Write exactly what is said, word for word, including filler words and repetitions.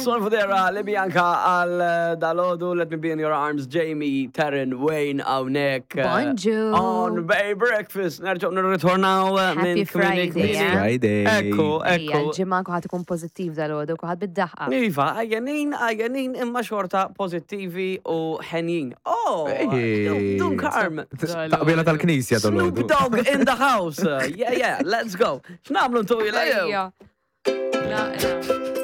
Son Fudera, li Bianca għal eh, dalodu, Let Me Be In Your Arms, Jamie, Taryn, Wayne, hawnhekk. eh, Bonġu. On Bay Breakfast, nerġgħu nirritornaw eh, Happy minn kmini Friday, kmini. eh? Friday. Ekku, Ejja, ekku. l-ġimgħa kuħat ikun pozittiv dal-għodu, kuħat bid-daħqa. Iva, għajjanin, għajjanin imma xorta pozittivi u ħenjin. Oh, Ej. Dun Carm. Taqbila tal-knisja Snoop dal-għodu. Dogg in the house. Yeah, yeah, let's go. X'nagħmlu ntu Ejja. La, la.